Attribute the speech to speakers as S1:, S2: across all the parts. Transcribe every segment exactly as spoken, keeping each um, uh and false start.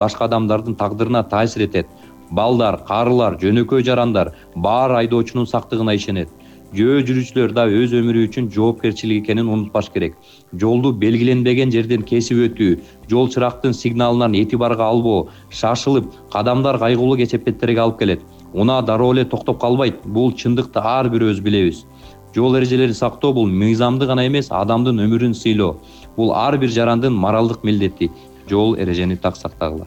S1: башка адамдардын тагдырына таасир этет. Балдар, карылар, жөнөкөй жарандар баары айдоочунун сактыгына ишенет. Жөө жүрүүчүлөр да өз өмүрү үчүн жоопкерчилик экенин унутпаш керек. Жолду белгиленбеген жерден кесип өтүү, жол чырактын сигналынан этибарга албоо, шашылып, кадамдар кайгылуу кесепеттерге алып келет. Унаа дароо эле токтоп калбайт. Бул чындыкты ар бирөөбүз билебиз. Жол эрежелерин сактоо бул мыйзамды гана эмес, адамдын өмүрүн сыйлоо. Бул ар бир жарандын моралдык милдети. Жол эрежени так сактагыла.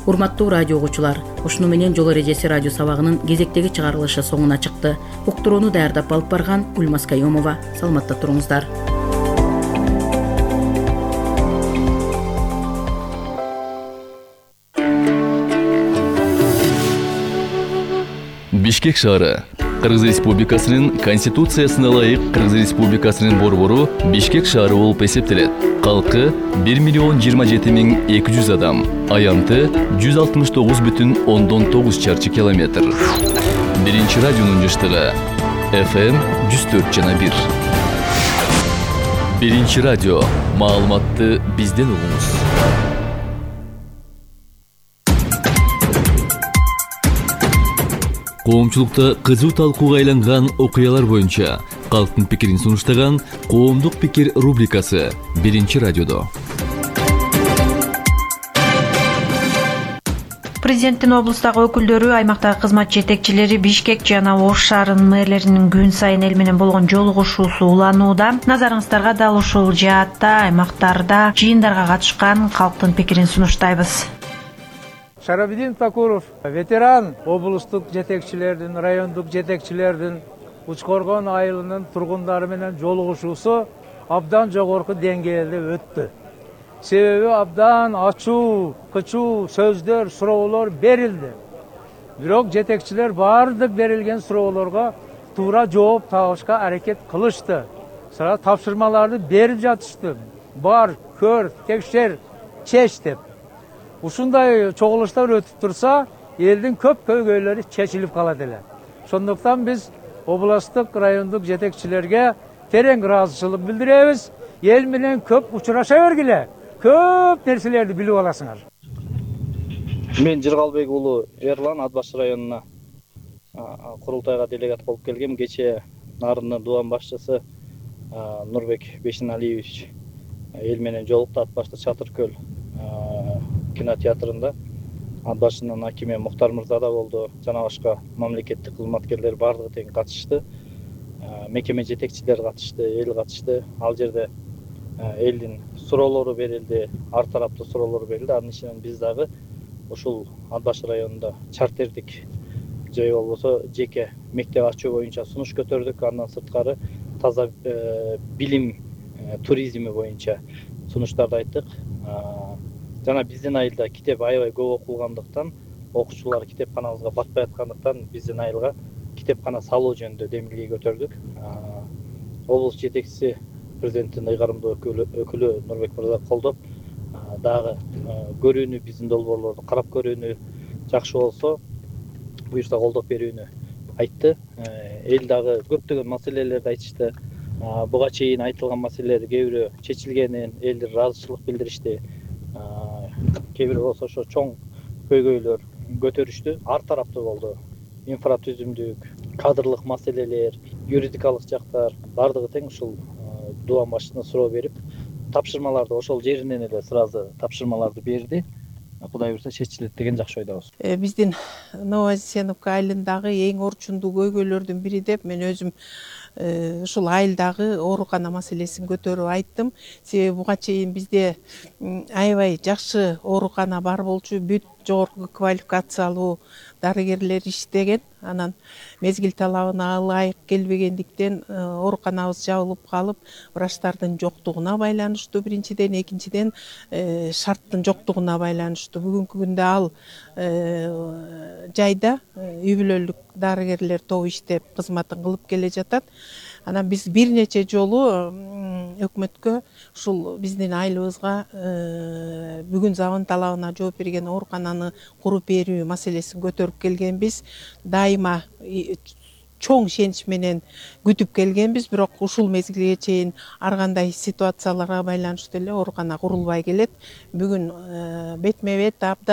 S2: Урматтуу радио угуучулар, ушуну менен жол эрежеси радио сабагынын кезектеги чыгарылышы соңуна чыкты. Уктурууну даярдап алып барган Гүлмаз Кайомова. Саламатта туруңуздар.
S3: Бишкек шаары. Кыргыз Республикасынын Конституциясына ылайык Кыргыз Республикасынын борбору Бишкек шаары болуп эсептелет. Калкы бир миллион жыйырма жети миң эки жүз адам, аянты жүз алтымыш тогуз бүтүн ондон тогуз чарчы километр. Биринчи радионун жыштыгы эф эм жүз төрт жана бир. Биринчи радио. Маалыматты бизден угуңуз. Коомчулукта кызуу талкууга айланган окуялар боюнча калктын пикирин сунуштаган Коомдук пикир рубрикасы Биринчи радиодо.
S4: Президенттин облустагы өкүлдөрү, аймактагы кызмат жетекчилери Бишкек жана Ош шаарынын мэрлеринин күн сайын эл менен болгон жолугушуусу уланууда. Назарыңыздарга дал ушул жаатта аймактарда жыйындарга катышкан калктын пикирин сунуштайбыз.
S5: Шарабидин Такуров ветеран облустук жетекчилердин, райондук жетекчилердин Учкоргон айылынын тургундары менен жолугушуусу абдан жогорку деңгээлде өттү. Себеби абдан ачуу, кычуу сөздөр, суроолор берилди. Бирок жетекчилер баардык берилген суроолорго туура жооп табышка аракет кылышты. Сара тапшырмаларды берип жатышты. Бар, көр, текшер, чеч деп. Ушундай чогулуштар өтүп турса, элдин көп көйгөйлөрү чечилип калат эле. Ошондуктан биз областык, райондук жетекчилерге терең ыраазычылык билдиребиз. Эл менен көп учураша бергиле. Көп нерселерди билип аласыңар.
S6: Мен Жыргалбек уулу Эрлан Ат Баш районуна курултайга делегат болуп келгем. Кечээ Нарындын дубан башчысы Нурбек Бешеналиевич эл менен жолукту Ат Башта Чатыркөл кинотеатрында. Ат Башынын акими Муктар мырза да болду. Жана башка мамлекеттик кызматкерлер бардыгы тең катышты. Мекеме жетекчилери катышты, эл катышты. Ал жерде элдин суроолору берилди, ар тараптуу суроолор берилди. Анын ичинен биз дагы ушул Ат Баш районунда чартердик же болбосо жеке мектеп ачуу боюнча сунуш көтөрдүк. Андан сырткары таза билим туризми боюнча сунуштарды айттык. Жана биздин айылда китеп аябай көп окулгандыктан, окуучулар китепканабызга батпай аткандыктан биздин айылга китепкана салуу жөнүндө демилге көтөрдүк. Облус жетекчиси президенттин ыйгарымдуу өкүлү Нурбек мырза колдоп, дагы көрүүнү, биздин долбоорлорду карап көрүүнү, жакшы болсо буюрса колдоп берүүнү айтты. Эл дагы көптөгөн маселелерди айтышты. Буга чейин айтылган маселелер кээ бирөө чечилгенин элдер ыраазычылык билдиришти. Кээ бирөө болсо ошо чоң көйгөйлөр көтөрүштү. Ар тараптуу болду. Инфратүзүмдүк, кадрлык маселелер, юридикалык жактар бардыгы тең ушул дубан башчысына суроо берип, тапшырмаларды ошол жеринен эле сразу тапшырмаларды берди. Кудай буйрса чечилет деген жакшы ойдобуз.
S7: Биздин Новосеновка айылындагы эң орчундуу көйгөйлөрдүн бири деп мен өзүм ушул айылдагы оорукана маселесин көтөрүп айттым. Себеби буга чейин бизде аябай жакшы оорукана бар болчу, бүт жогорку квалификациялуу дарыгерлер иштеген. Анан мезгил талабына ылайык келбегендиктен ооруканабыз жабылып калып, врачтардын жоктугуна байланыштуу биринчиден, экинчиден шарттын жоктугуна байланыштуу. Бүгүнкү күндө ал жайда үй бүлөлүк дарыгерлер тобу иштеп кызматын кылып келе жатат. Анан биз бир нече жолу өкмөткө ушул биздин айылыбызга бүгүн заман талабына жооп берген оорукананы куруп берүү маселесин көтөрүп келгенбиз. Дайыма чоң ишенич менен күтүп келгенбиз, бирок ушул мезгилге чейин ар кандай ситуацияларга байланыштуу эле оорукана курулбай келет. Бүгүн бетме бет абдан